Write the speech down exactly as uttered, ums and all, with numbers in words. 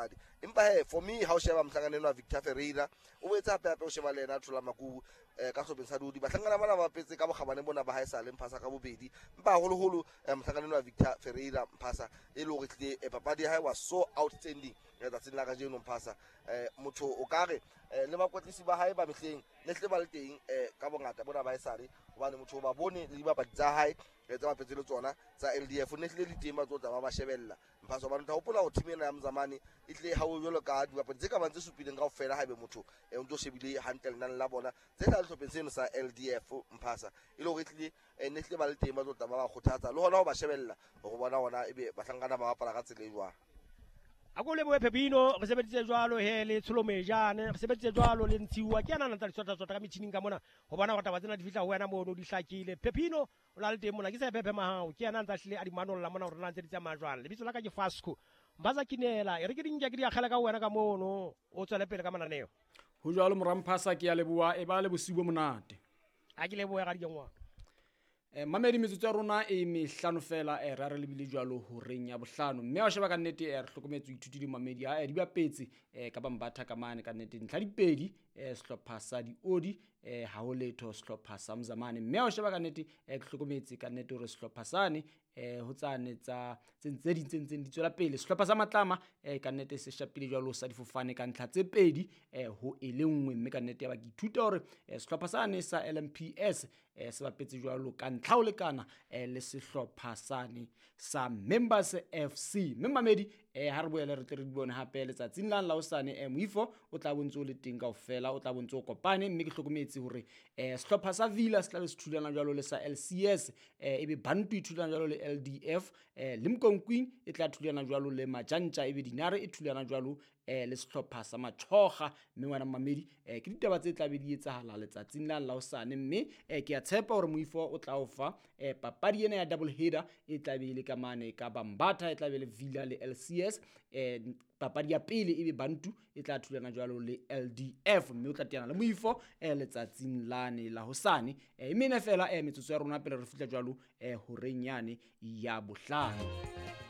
dipapadi. Empa he for me ha o sheba mohlankana enwa Victor Ferreira o boetse hape hape o sheba le yena Thola Makubu eh, ka sehlopheng sa Diodi. Bahlankana bana ba bapetse ka bokgabane bona ba haesale Mphasa ka bobedi, empa haholoholo eh, mohlankana enwa Victor Ferreira Mphasa e le hore tlile eh, papadi ya hae was so outstanding letsatsing la kajeno Mphasa. Eh, motho o ka re eh, le bakwetlisi ba hae ba mehleng ne hlile ba le teng eh, ka bongata bona ba haesale, hobane motho o ba bone le dibapadi tsa hae eh, tsa bapetse le tsona tsa L D F ne hlile le teng ba tlo tla ba ba shebella Mphasa. Hobane o tla hopola hore team ena ya Mzamane e tlile ha o jwalo ka dibapadi tse ka bang tse supileng kaofela, haebe motho eh, o ntso shebile hantle lenane la bona tse tla sehlopheng seno sa L D F Mphasa, e le hore e tlile eh, ne hlile ba le teng ba tlo tla ba ba kgothatsa le hona ho ba shebella hore bona hona ebe bahlankana ba bapala ka tsela e jwang. A ko lebohe Pepino, re sebeditse jwalo he le Tsholomejane, re sebeditse jwalo le Ntshiwa. Ke yena a ntsa di tsota-tsota ka metjhining ka mona ho bona hore taba tsena di fihla ho wena mono di hlakile. Pepino o na le teng mona, ke sa Pepe Mahao, ke yena a ntsa hlile a di manolla mona hore na ntse di tsamaya jwang. Lebitso la ka ke Fasco Mbaza Kinela, e re ke di nke ke di akgela ka wena ka mono, o tswele pele ka mananeo. Ho jwalo mora Mphasa, ke a leboha, e ba le bosiu bo monate. A ke lebohe ga dikengwana. Eh, mamedi metsotso ya rona e mehlano fela, eh, ra re lebile jwalo horeng ya bohlano. Mme wa sheba ka nnete, eh, re hlokometse ho ithutile mamedi ha, eh, di bapetse, eh, ka Bambatha ka mane ka nnete ntlha dipedi, eh, sehlopha sa Diodi, eh, ha ho letho sehlopha sa Mzamane. Mme wa sheba ka nnete, eh, ke hlokometse ka nnete hore sehlopha sane, eh, ho tsane tsa tse tse ding tse ntseng di tswela pele. Sehlopha sa Matlama, eh, ka nnete se shapile jwalo sa difofane ka ntlha tse pedi, eh, ho e le nngwe. Mme ka nnete ya ba ke ithuta hore, eh, sehlopha sane sa L M P S, eh, se bapetse jwalo ka ntlha ho lekana, eh, le sehlopha sane sa Members F C. Mme mamedi, eh, ha re boele re tle re di bone hape letsatsing la la hosane, eh, moifo o tla bontse o le teng kaofela, o tla bontse o kopane. Mme ke hlokometse hore, eh, sehlopha sa Villa se tla be se thulana jwalo le sa L C S, eh, ebe Bantu e thulana jwalo le L D F, eh, Limkokwing e tla thulana jwalo le Majantja, ebe Dinare e thulana jwalo, eh, le sehlopha sa Machoga. Mme wena mamedi, eh, ke ditaba tse tla be di etsahala letsatsing la la hosane. Mme, eh, ke a tshepa hore moifo o tla o fa, eh, papadi ena ya double header e tla be e le ka mane ka Bambatha, e tla be le Villa le L C S. Eh, papadi ya pele ebe Bantu e tla thulana jwalo le L D F, mme o tla teana le moifo, eh, letsatsing lane la hosane. Eh, mme ena fela, eh, metsotso ya rona pele re fihla jwalo, eh, horeng yane ya bohlano.